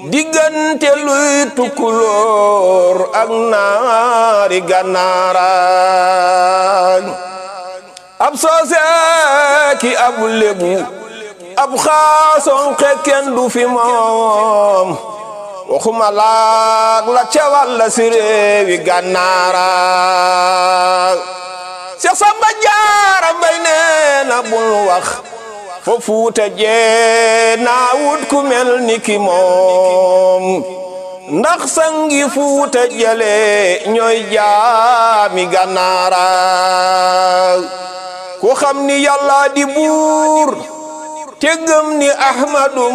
diggante luy tukkulóor ak naari gànnaaraan ab soose ki ab lébu ab xaason xekken du fi moom waxuma laag la cewal la si réewi gànnaaraan Seex Samba Jaara Mbay nee na bul wax fo Fuuta jee naa wut ku mel ni ki moom ndax sangi Fuuta jale ñooy jaami Gànnaara ku xam ni Yàlla di buur te gëm ni Ahmadu